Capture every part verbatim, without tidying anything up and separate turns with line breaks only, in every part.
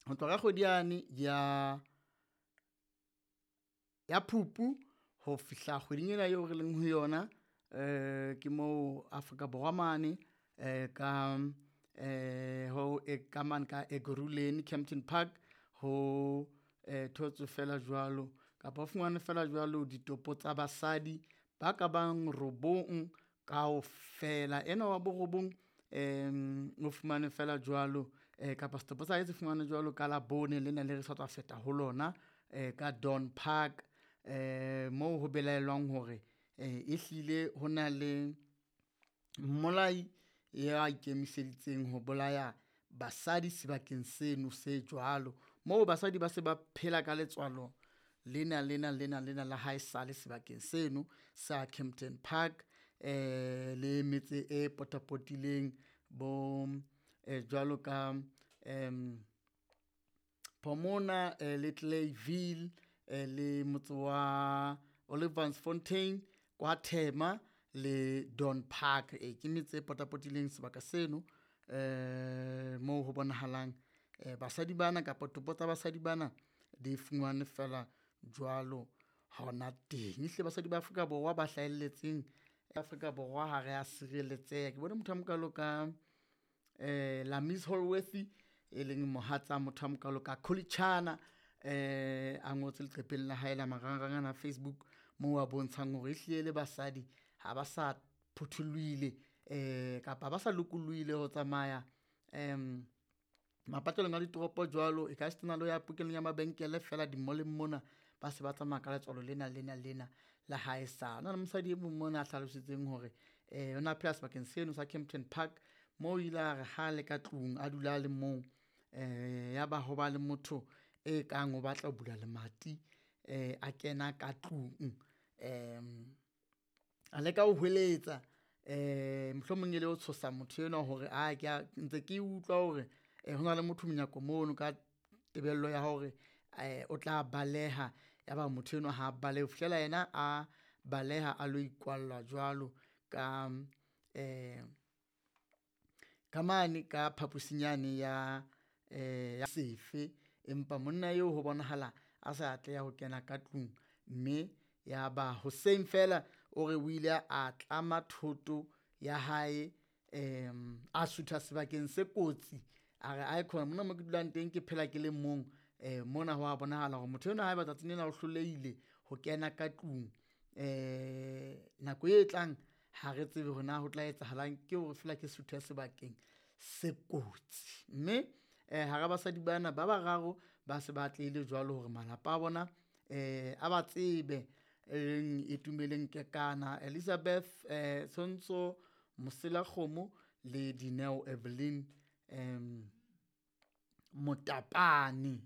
Ho tloha ka kgwedi yane ya ya Phupu ho fihla kgweding ena eo re leng ho yona, ke moo Afrika Borwa mane ka ho ka mane ka Ekurhuleni Kempton Park ho thotswe feela jwalo kapa ho fumanwe feela jwalo ditopo tsa basadi ba ka bang robong kaofela. Enwa wa borobong o fumanwe feela jwalo kapa setopo sa hae se fumanwe jwalo ka Labone lena le re sa tswa feta ho lona ka Dawn Park moo ho belaellwang hore ehlile ho na le mmolai ya ikemiseditseng ho bolaya basadi sebakeng seno se jwalo. Moo basadi ba se ba phela ka letswalo lena lena lena lena la haesale sebakeng seno sa Kempton Park le metse e potapotileng bo jwalo ka Pomona le Clayville le motse wa Olifantsfontein kwa Thema le Dawn Park. Ee ke metse e potapotileng sebaka seno moo ho bonahalang basadi bana kapa topo tsa basadi bana di fumanwe feela jwalo hona teng. Ehlile basadi ba Afrika Borwa ba hlahelletseng Afrika Borwa ha re a sireletseha. Ke bone motho a mokalo ka Lamees Holworthy e leng mohatsa motho a mokalo ka Khuli Chana a ngotse leqepheng la hae la marangrang ana a Facebook moo a bontshang hore ehlile le basadi ha ba sa phuthulohile kapa ha ba sa lokolohile ho tsamaya mapatlelong a ditoropo jwalo. E ka sitana le ho ya pokellong ya mabenkele feela di-mall-eng mona, ba se ba tsamaya ka letswalo lena lena lena la haesale. Ho na le mosadi e mong mona a hlalositseng hore o na phela sebakeng seno sa Kempton Park moo o ile a re ha le ka tlung, a dula a le mong ya ba ho ba le motho e kang o batla ho bula lemati a kena ka tlung. A leka ho hweletsa mohlomong e le ho tshosa motho enwa hore ntse ke utlwa hore ho na le motho monyako mono ka tebello ya hore o tla baleha. Ya ba motho enwa ha balehe ho fihlela yena a baleha a lo ikwalla jwalo ka ka mane ka phaposing yane ya ya sefe. Empa monna eo ho bonahala a sa atleha ho kena ka tlung, mme ya ba hoseng feela o re o ile a tlama thoto ya hae a sutha sebakeng se kotsi. A re aikhona mona mo ke dulang teng, ke phela ke le mong mona ho a bonahala hore motho enwa haeba tsatsing lena o hlolehile ho kena ka tlung nako e tlang ha re tsebe hore na ho tla etsahalang. Ke hore feela ke suthe sebakeng se kotsi, mme hara basadi bana ba bararo ba se ba atlehile jwalo hore malapa a bona a ba tsebe. E leng Itumeleng Kekana, Elizabeth Tshwantso Moselakgomo le Dineo Evelyn Motapane.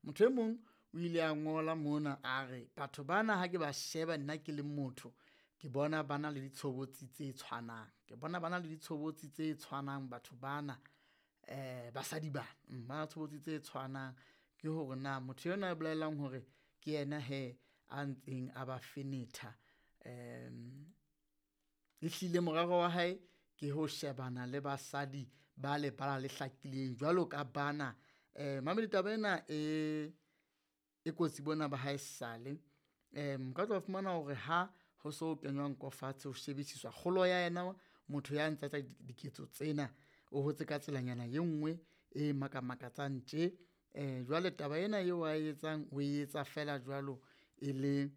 Motho e mong o ile a ngola mona a re batho bana ha ke ba sheba nna ke le motho, ke bona ba na le ditshobotsi tse tshwanang, ke bona ba na le ditshobotsi tse tshwanang batho bana basadi bana ba na le tshobotsi tse tshwanang. Ke hore na motho enwa a bolelang hore ke yena hee a ntseng a ba fenetha ehlile morero wa hae ke ho shebana le basadi ba lebala le hlakileng jwalo ka bana. Momamedi taba ena e e kotsi bona ba haesale o ka tla wa fumana hore ha ho so kenywa nko fatshe ho shebisiswa kgolo ya yena motho ya ntsa etsa diketso tsena, o hotse ka tselanyana e nngwe e makamakatsang tje. Jwale taba ena eo ae etsang o etsa feela jwalo e le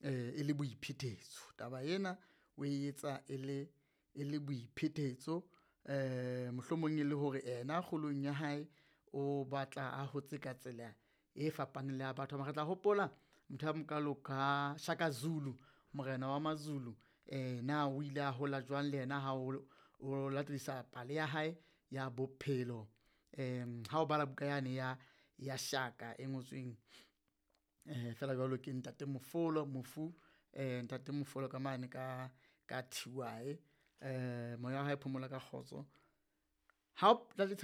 e le boiphetetso. Taba ena o etsa e le e le boiphetetso mohlomong e le hore yena kgolong ya hae o batla a hotse ka tsela e fapaneng le ya batho. Re tla hopola motho a mokalo ka Shaka Zulu, morena wa Mazulu na o ile a hola jwang le yena ha o latedisa pale ya hae ya bophelo ha o bala buka yane ya ya Shaka e ngotsweng feela jwalo ke ntate Mofolo, mofu ntate Mofolo ka mane ka ka T Y. Moya wa hae o phomole ka kgotso. Ha o taba.